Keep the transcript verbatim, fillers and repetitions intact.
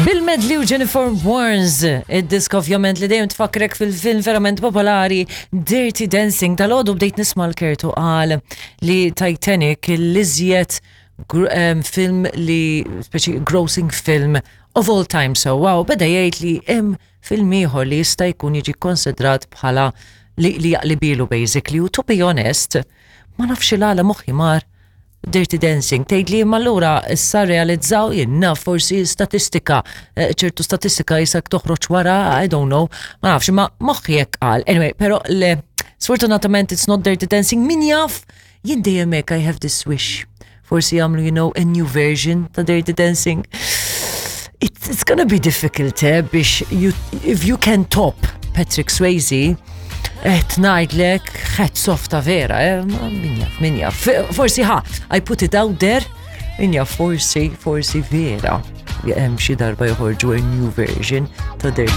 Bill Medley u Jennifer Warnes, id-diska ovvjament li dejjem tfakkrek fil-film verament popolari Dirty Dancing. Dal-għodu bdejt nisma' l-Kertu qal li Titanic l-iżjed gr- em, film li, speċi grossing film of all time. So wow, beda jgħid li hemm film ieħor li jista' jkun jiġi konsidrat bħala li, li jaqlibilu basically. U to be honest, ma nafx il-għala moħħi mar Dirty Dancing, tgħid li imma allura issa realizzaw jenna forsi statistika, eh, ċertu statistika jisak toħroġ wara, I don't know, ma nafx, ma moħħi hekk qal. Anyway, pero le, sfortunatament it's not Dirty Dancing, min jaf, jien dejjem hekk I have this wish. Forsi jagħmlu, you know, a new version ta' Dirty Dancing. It's, it's gonna be difficult, eh, biex you, if you can top Patrick Swayze, qed ngħidlek hats off ta' vera, eh, ma min jaf, min jaf. Forsi ħa, I put it out there, min jaf, forsi, forsi vera. Hemm xi darba joħorġu a new version ta' Dirty